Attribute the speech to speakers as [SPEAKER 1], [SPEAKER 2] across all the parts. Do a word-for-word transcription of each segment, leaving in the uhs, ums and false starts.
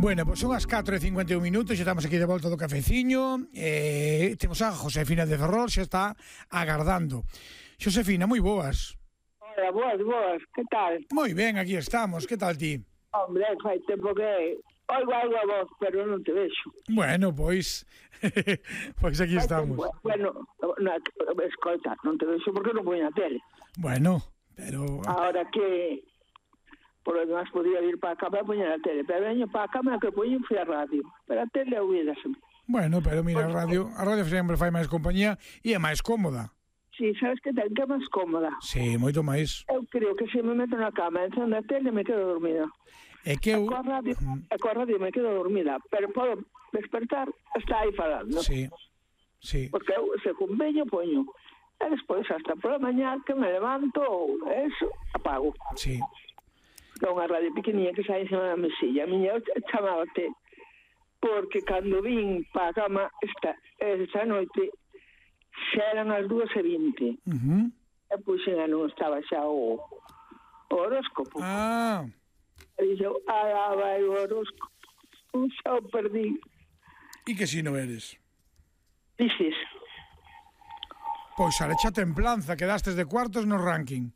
[SPEAKER 1] Bueno, pois son as catro e cincuenta e un minutos, xa estamos aquí de volta do cafeciño. eh, Temos a Josefina de Ferrol, xa está agardando. Josefina, moi boas.
[SPEAKER 2] Hola, boas, boas, que tal?
[SPEAKER 1] Moi ben, aquí estamos, que tal ti?
[SPEAKER 2] Hombre, fai tempo que oigo algo a voz, pero non te vexo.
[SPEAKER 1] Bueno, pois pois aquí
[SPEAKER 2] Fai
[SPEAKER 1] estamos.
[SPEAKER 2] tempo, bueno, na, escolta, non te vexo porque non poño a tele.
[SPEAKER 1] Bueno, pero
[SPEAKER 2] Ahora que por lo demás podía ir para a cama e poñer a tele, pero veño para a cama que poño fui a radio, pero a tele olvídaseme.
[SPEAKER 1] Bueno, pero mira, a radio, a radio sempre fai máis compañía e é máis cómoda.
[SPEAKER 2] Si, sí, sabes que ten que é máis cómoda.
[SPEAKER 1] Sí, moito máis.
[SPEAKER 2] Eu creo que se me meto na cama e encendo a tele me quedo dormida.
[SPEAKER 1] É que eu...
[SPEAKER 2] E coa radio, e coa radio me quedo dormida, pero podo despertar, está aí falando.
[SPEAKER 1] Sí, sí.
[SPEAKER 2] Porque eu, se con veño, poño. E despois, hasta por la mañá, que me levanto, eso, apago.
[SPEAKER 1] Sí.
[SPEAKER 2] Que é unha radio pequeniña que sai encima da mesilla. A miña chamábate, porque cando vin pa a cama esta, esta noite, xa eran as dúas e vinte.
[SPEAKER 1] Uh-huh.
[SPEAKER 2] E puxen a non estaba xa o, o horóscopo.
[SPEAKER 1] Ah,
[SPEAKER 2] E dixo, ah, vai o horóscopo, xa o perdí.
[SPEAKER 1] e que si non eres?
[SPEAKER 2] Dices,
[SPEAKER 1] Pois saleche a templanza, quedastes de cuartos no ranking.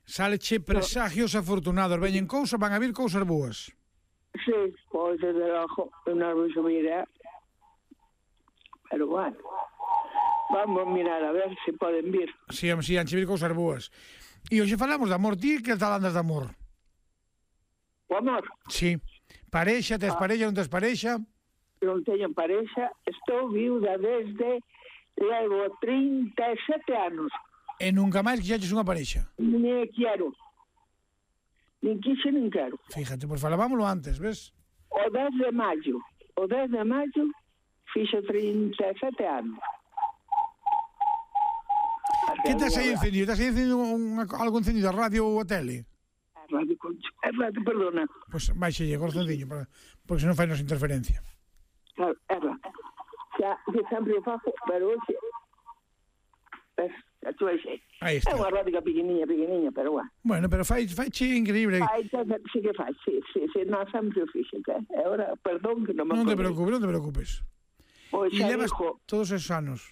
[SPEAKER 1] Saleche presagios afortunados, veñen cousas, van a vir cousas boas.
[SPEAKER 2] sí, pois desde logo, non vou subir, eh? Pero bueno, vamos a mirar a ver se poden vir.
[SPEAKER 1] Si, si, anche vir cousas boas. E hoxe falamos de amor, ti que tal andas de amor?
[SPEAKER 2] O amor,
[SPEAKER 1] Si, parexa, tes parexa, non tes parexa?
[SPEAKER 2] non teño parexa, estou viuda desde, levo trinta e sete anos.
[SPEAKER 1] E nunca máis quixaches unha parexa?
[SPEAKER 2] Ni quero. Nin quixo, nin quero.
[SPEAKER 1] Fíjate, pois falábamoslo antes, ves?
[SPEAKER 2] O dez de maio, o dez de maio, fixo trinta e sete anos.
[SPEAKER 1] Que tes aí encendido? Tes aí encendido un, algo encendido, a radio ou a tele?
[SPEAKER 2] É radio, Concho, é radio, perdona.
[SPEAKER 1] Pois baixe o corazoncillo, para, porque senón fai nos interferencia.
[SPEAKER 2] Claro, é radio. Xa, que sempre o faço, pero hoxe... Ves, xa tu aí.
[SPEAKER 1] Aí
[SPEAKER 2] É
[SPEAKER 1] está.
[SPEAKER 2] unha radio pequeniña, pequeniña, pero bueno.
[SPEAKER 1] Bueno, pero fai, fai che increíble.
[SPEAKER 2] Ai, sí que faz, sí, sí, sí, non sempre o fixe, que é hora, perdón, que non me
[SPEAKER 1] Non te
[SPEAKER 2] acordei.
[SPEAKER 1] preocupes, non te preocupes.
[SPEAKER 2] Pois
[SPEAKER 1] E
[SPEAKER 2] xa
[SPEAKER 1] levas
[SPEAKER 2] dixo,
[SPEAKER 1] todos esos anos.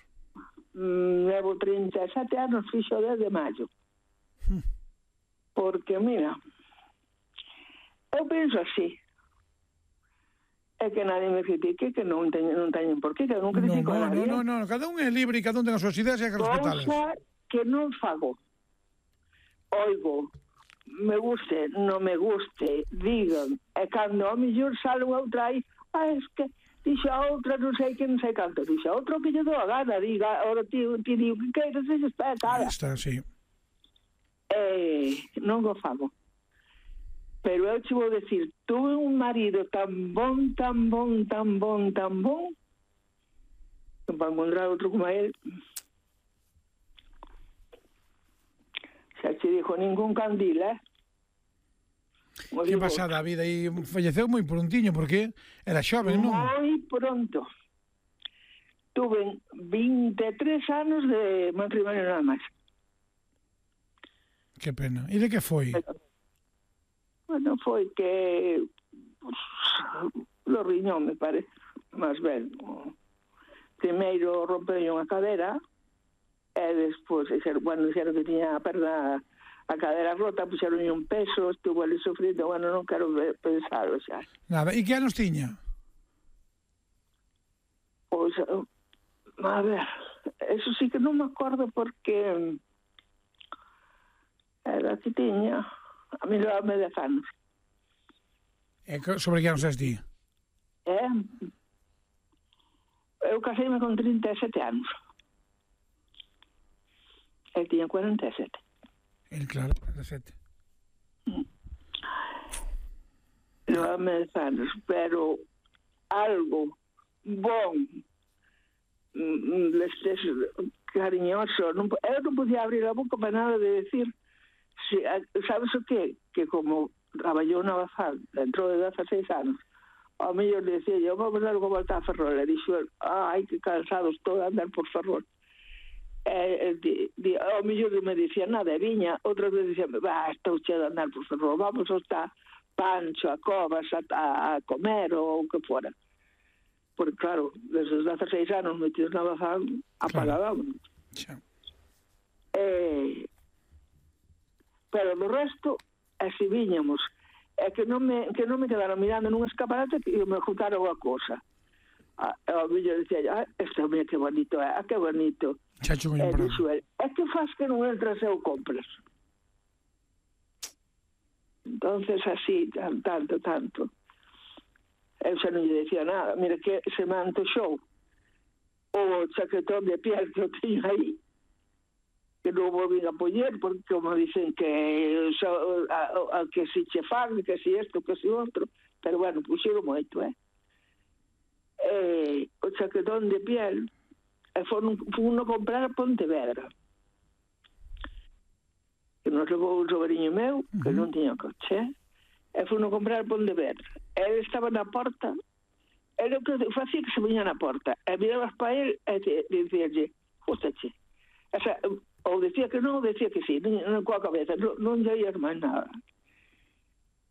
[SPEAKER 2] mm, levo trinta e sete anos, fixo dez de maio.
[SPEAKER 1] Hmm.
[SPEAKER 2] Porque, mira, eu penso así, é que nadie me critique, que non teñen, non teñen por qué, que eu non
[SPEAKER 1] No,
[SPEAKER 2] critico
[SPEAKER 1] no,
[SPEAKER 2] a nadie.
[SPEAKER 1] no, no, no, cada un é libre e cada un ten as súas ideas e hai que respetalas.
[SPEAKER 2] Cousa que non fago. Oigo, me guste, non me guste, digan, e cando a mellor sale outra aí, ah, es que dixo a outra non sei que non sei canto, dixo a outra que lle dou a gana, diga, ora ti, ti digo, que queiras, se está cara.
[SPEAKER 1] Aí está, sí.
[SPEAKER 2] Eh, non o fago. Pero eu te vou decir, tuve un marido tan bon, tan bon, tan bon, tan bon, que para encontrar outro como él, xa te dijo ningún candil, eh?
[SPEAKER 1] Que pasada a vida, e falleceu moi prontiño, porque era xoven, non?
[SPEAKER 2] Moi pronto. Tuve vinte e tres anos de matrimonio nada máis.
[SPEAKER 1] Que pena. E de que foi?
[SPEAKER 2] Bueno, foi que pues, lo riñón, me parece, máis ben. Primeiro rompeu unha cadera e despois, bueno, dixeron que tiña a perna, a cadera rota, puxeron un peso, estuvo ali sufrindo, bueno, non quero pensarlo xa.
[SPEAKER 1] Nada, e que anos tiña?
[SPEAKER 2] Pois, a ver, eso sí que non me acordo porque era que tiña, a mí levame dez anos.
[SPEAKER 1] E sobre que anos és ti?
[SPEAKER 2] Eh? Eu caseime con trinta e sete anos. El tiña cuarenta e sete.
[SPEAKER 1] El, claro, dezasete.
[SPEAKER 2] Levame dez anos, pero algo bon, destes cariñoso, non, eu non podía abrir a boca para nada de decir, si, sabes o que? Que como traballou na Bazán dentro de dezaseis anos, ao mellor decía yo, vamos a algo voltar a Ferrol, e dixo, ai, que cansado estou de andar por Ferrol. E, di, di, ao mellor non me dicía nada, e viña, outras veces dicía, va, estou che de andar por Ferrol, vamos a estar Pancho, a Covas, a, a comer ou o que fora. Porque, claro, desde os dezasseis anos metidos na bazán, apagábamos.
[SPEAKER 1] Xa.
[SPEAKER 2] Eh, pero do resto, así viñamos. É que non me, que non me quedaron mirando nun escaparate e me juntaron a cosa. A, a miña dicía, ah, este mira que bonito é, ah, que bonito.
[SPEAKER 1] Chacho,
[SPEAKER 2] E dixo el, é que faz que non entras e o compras. Entonces así, tan, tanto, tanto. Eu xa non lle decía nada. Mira que se me antoxou o chaquetón de piel que eu teño aí, que non volvín a poñer, porque como dicen que so, a, a, a, que si che fan, que si isto, que si outro, pero bueno, puxeron moito, eh? eh o chaquetón de piel e foron uno comprar a Pontevedra, que nos levou un sobrinho meu que non tiña coche, e foron comprar a Pontevedra. Ele estaba na porta, ele o que facía que se viña na porta e mirabas para ele e dicíalle, justache, o sea, ou decía que non, ou decía que sí, non coa cabeza, non, non lle oías máis nada.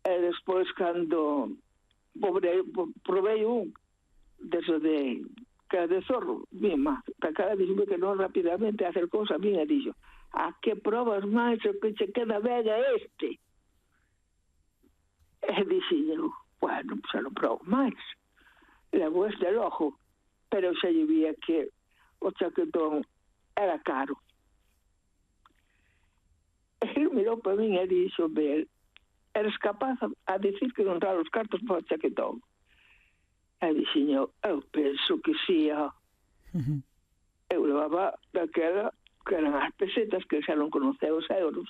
[SPEAKER 2] E despois, cando pobre, provei un deso de que de zorro, bien má, que a cara dixo que non rapidamente hacer cousa, bien, e dixo, a que probas máis o que che queda vega este? E dixo, bueno, xa non probo máis. Levo este lojo, pero xa lle vía que o chaquetón era caro. Ele mirou para min e dixo, ben, eres capaz a dicir que non trae os cartos para o chaquetón? E dixo, eu penso que sí, ó. Uh-huh. Eu levaba daquela que eran as pesetas, que xa non conoceu os euros,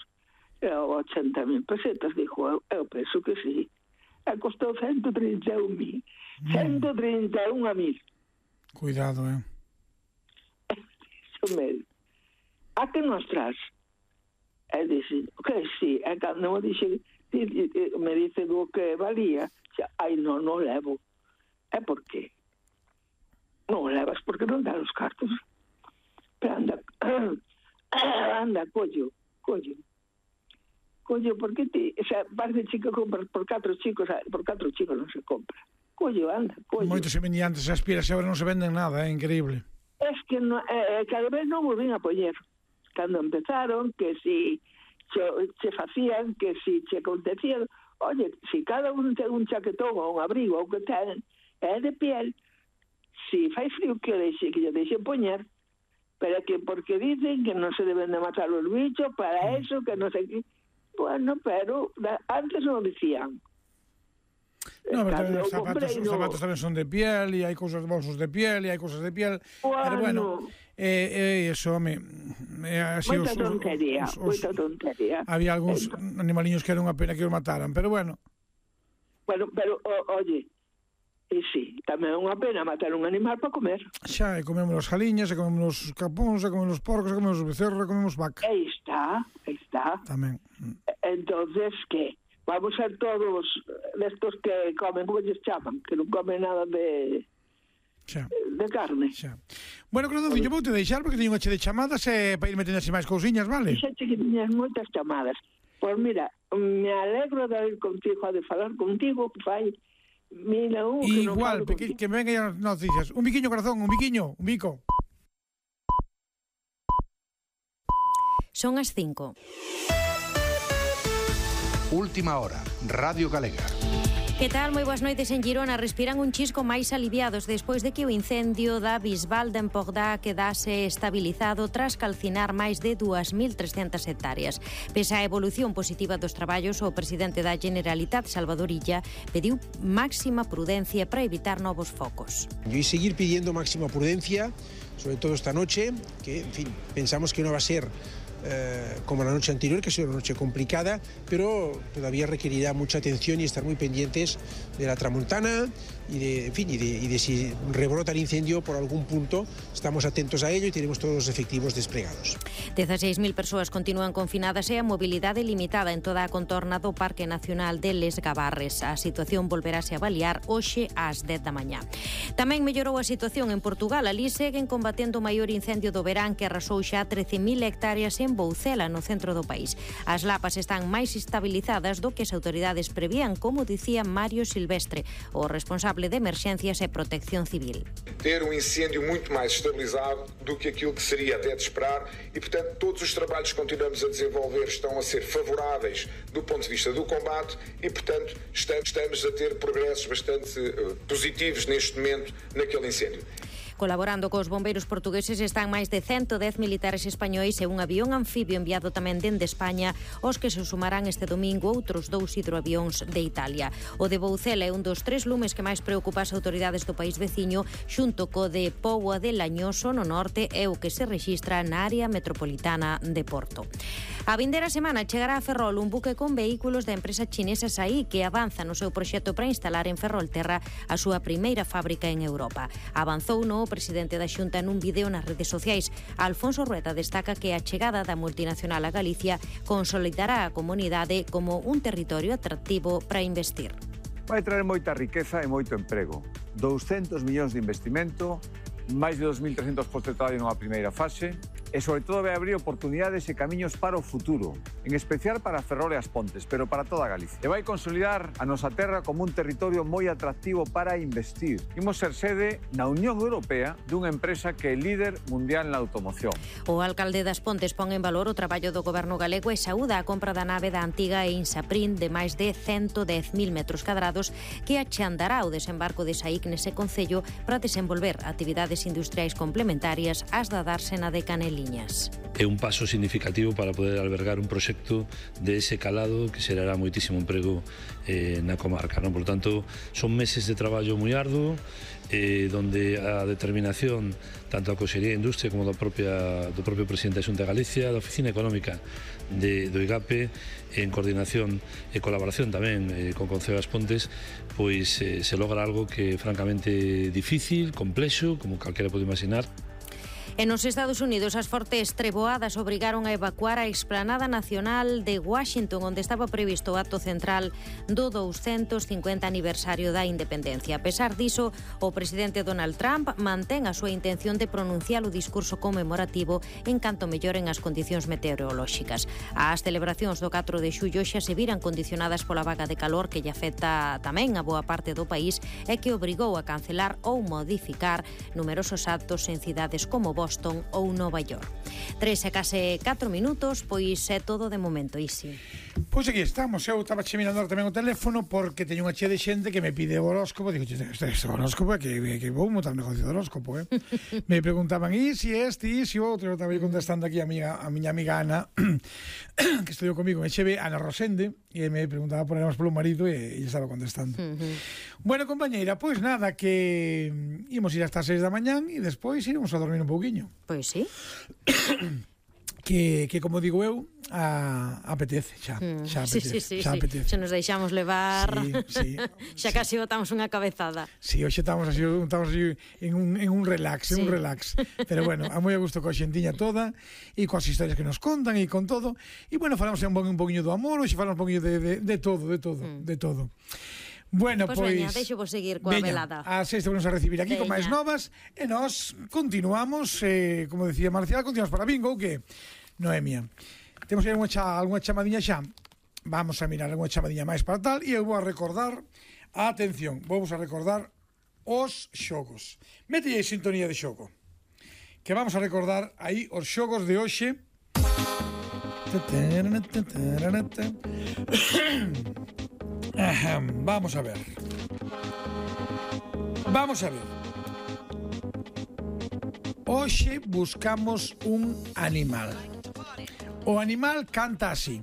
[SPEAKER 2] e ochenta mil pesetas, dixo, eu, eu penso que sí. E costou ciento trinta e un mil. Mm. ciento trinta e un a mil.
[SPEAKER 1] Cuidado, eh.
[SPEAKER 2] Dixo me, a que nos tras? E dixo, que sí, e cando me dixe, me dice do que valía, xa, ai, non, non levo. E por qué? Non levas porque non dan os cartos. Pero anda, anda, collo, collo. Collo, porque ti, o sea, parece chico compras por catro chicos, por catro chicos non se compra. Collo, anda, collo.
[SPEAKER 1] Moitos se vendían antes, as piras, agora non se venden nada, é increíble.
[SPEAKER 2] Es que no, eh, cada vez non volvín a poñer. Cando empezaron, que si se, se facían, que si se acontecían, oye, si cada un ten un chaquetón ou un abrigo ou que ten, é de piel, si fai frío que o deixe, que lle deixen poñer, pero que porque dicen que non se deben de matar os bichos, para eso, que non sei que... Bueno, pero antes non dicían.
[SPEAKER 1] No, pero tamén os zapatos, os zapatos tamén son de piel, e hai cousas de bolsos de piel, e hai cousas de piel. Bueno, pero bueno, eh, eh, eso, home, eh, así
[SPEAKER 2] moita
[SPEAKER 1] os,
[SPEAKER 2] tontería,
[SPEAKER 1] os, os,
[SPEAKER 2] moita tontería.
[SPEAKER 1] Había algúns eh, animaliños que era unha pena que os mataran, pero bueno.
[SPEAKER 2] Bueno, pero, o, oye, e sí, tamén é unha pena matar un animal para comer.
[SPEAKER 1] Xa, e comemos as jaliñas, e comemos os capóns, e comemos os porcos, e comemos os becerros, e comemos vaca.
[SPEAKER 2] Aí está, aí está.
[SPEAKER 1] Tamén.
[SPEAKER 2] Entonces, que? Vamos ser todos destos que comen, como lles chaman, que non comen nada de... Xa. De carne.
[SPEAKER 1] Xa. Bueno, Claudonciño, vou te deixar porque teño unha che de chamadas e para irme tenerse máis cousiñas, vale?
[SPEAKER 2] Xa che que tiñas moitas chamadas. Pois mira, me alegro de ir contigo, de falar contigo, fai... Mira, un que
[SPEAKER 1] igual,
[SPEAKER 2] non
[SPEAKER 1] que, que me vengan as noticias. Un biquiño, corazón, un biquiño, un bico.
[SPEAKER 3] Son as cinco.
[SPEAKER 4] Última hora, Radio Galega.
[SPEAKER 3] Que tal? Moi boas noites. En Girona respiran un chisco máis aliviados despois de que o incendio da Bisbal de Empordà quedase estabilizado tras calcinar máis de dúas mil trescentas hectáreas. Pese á evolución positiva dos traballos, o presidente da Generalitat, Salvador Illa, pediu máxima prudencia para evitar novos focos.
[SPEAKER 5] Y seguir pidiendo máxima prudencia, sobre todo esta noche, que, en fin, pensamos que no va a ser Eh, como la noche anterior, que ha sido una noche complicada, pero todavía requerirá mucha atención y estar muy pendientes de la tramontana y de, en fin, y de, y de si rebrota el incendio por algún punto. Estamos atentos a ello y tenemos todos los efectivos desplegados.
[SPEAKER 3] dezasseis mil persoas continúan confinadas e a mobilidade limitada en toda a contorna do Parque Nacional de Les Gabarres. A situación volverase a avaliar hoxe ás dez da mañá. Tamén mellorou a situación en Portugal. Alí seguen combatendo o maior incendio do verán que arrasou xa trece mil hectáreas en en Boucela, no centro do país. As lapas están máis estabilizadas do que as autoridades prevían, como dicía Mario Silvestre, o responsable de emerxencias e protección civil.
[SPEAKER 6] Ter um incêndio muito mais estabilizado do que aquilo que seria até de esperar e, portanto, todos os trabalhos que continuamos a desenvolver estão a ser favoráveis do ponto de vista do combate e, portanto, estamos a ter progressos bastante positivos neste momento naquele incêndio.
[SPEAKER 3] Colaborando cos bombeiros portugueses están máis de ciento dez militares españois e un avión anfibio enviado tamén dende España, os que se sumarán este domingo outros dous hidroavións de Italia. O de Boucela é un dos tres lumes que máis preocupa as autoridades do país veciño, xunto co de Póvoa de Lañoso no norte e o que se rexistra na área metropolitana de Porto. A vindeira semana chegará a Ferrol un buque con vehículos da empresa chinesa SAI que avanza no seu proxecto para instalar en Ferrolterra a súa primeira fábrica en Europa. Avanzou no o presidente da Xunta nun vídeo nas redes sociais. Alfonso Rueda destaca que a chegada da multinacional a Galicia consolidará a comunidade como un territorio atractivo para investir.
[SPEAKER 7] Vai traer moita riqueza e moito emprego. douscentos millóns de investimento, máis de dos mil trescentos postos de traballo nunha primeira fase e, sobre todo, vai abrir oportunidades e camiños para o futuro, en especial para Ferrol e as Pontes, pero para toda Galicia. E vai consolidar a nosa terra como un territorio moi atractivo para investir. Imos ser sede na Unión Europea dunha empresa que é líder mundial na automoción.
[SPEAKER 3] O alcalde das Pontes pon en valor o traballo do goberno galego e saúda a compra da nave da antiga Insaprin de máis de ciento dez mil metros cadrados que achandará o desembarco de Saic nese concello para desenvolver actividades industriais complementarias ás da dársena de Caneliñas.
[SPEAKER 8] É un paso significativo para poder albergar un proxecto de ese calado que xerará moitísimo emprego eh, na comarca, non? Por tanto, son meses de traballo moi arduo, eh, donde a determinación tanto a Consellería de Industria como da propia, do propio presidente da Xunta de Galicia, da Oficina Económica de, do IGAPE, en coordinación e colaboración tamén eh, con Concello das Pontes, pois eh, se logra algo que é francamente difícil, complexo, como calquera pode imaginar.
[SPEAKER 3] En os Estados Unidos, as fortes treboadas obrigaron a evacuar a explanada nacional de Washington, onde estaba previsto o acto central do doscientos cincuenta aniversario da independencia. A pesar diso, o presidente Donald Trump mantén a súa intención de pronunciar o discurso conmemorativo en canto melloren as condicións meteorolóxicas. As celebracións do catro de xullo xa se viran condicionadas pola vaga de calor que lle afecta tamén a boa parte do país e que obrigou a cancelar ou modificar numerosos actos en cidades como Boston Boston ou Nova York. Tres e case catro minutos, pois é todo de momento, Isi.
[SPEAKER 1] Pois aquí estamos, eu estaba che mirando tamén o teléfono porque teño unha chea de xente que me pide o horóscopo, digo, este, este horóscopo é que, que vou montar un negocio de horóscopo, eh? Me preguntaban, e si este, e si outro, eu estaba contestando aquí a, amiga, a miña amiga Ana, que estudiou comigo en Cheve, Ana Rosende, e me preguntaba por éramos polo marido e, e estaba contestando. Uh-huh. Bueno, compañeira, pois nada, que imos ir hasta as seis da mañán e despois iremos a dormir un pouquiño.
[SPEAKER 3] Pois sí.
[SPEAKER 1] que, que como digo eu, a, apetece, xa,
[SPEAKER 3] mm.
[SPEAKER 1] xa apetece,
[SPEAKER 3] sí, sí,
[SPEAKER 1] xa
[SPEAKER 3] sí.
[SPEAKER 1] apetece.
[SPEAKER 3] Se nos deixamos levar,
[SPEAKER 1] sí, sí,
[SPEAKER 3] xa
[SPEAKER 1] sí.
[SPEAKER 3] casi botamos unha cabezada.
[SPEAKER 1] Sí, hoxe estamos así, estamos así en, un, en un relax, sí. en un relax. Pero bueno, a moi a gusto coa xentiña toda e coas historias que nos contan e con todo. E bueno, falamos un, un poquinho do amor, hoxe falamos un poquinho de, de, de todo, de todo, mm. de todo. Bueno,
[SPEAKER 3] pois,
[SPEAKER 1] pois
[SPEAKER 3] veña, deixo vos seguir coa
[SPEAKER 1] veña,
[SPEAKER 3] velada.
[SPEAKER 1] A sexta vamos a recibir aquí veña. Con máis novas e nós continuamos, eh, como decía Marcial, continuamos para bingo, que Noemia. Temos aí alguna, cha, alguna chamadiña xa. Vamos a mirar alguna chamadiña máis para tal e eu vou a recordar, a atención, vamos a recordar os xogos. Mete aí sintonía de xogo. Que vamos a recordar aí os xogos de hoxe. Vamos a ver. Vamos a ver. Hoxe buscamos un animal. O animal canta así.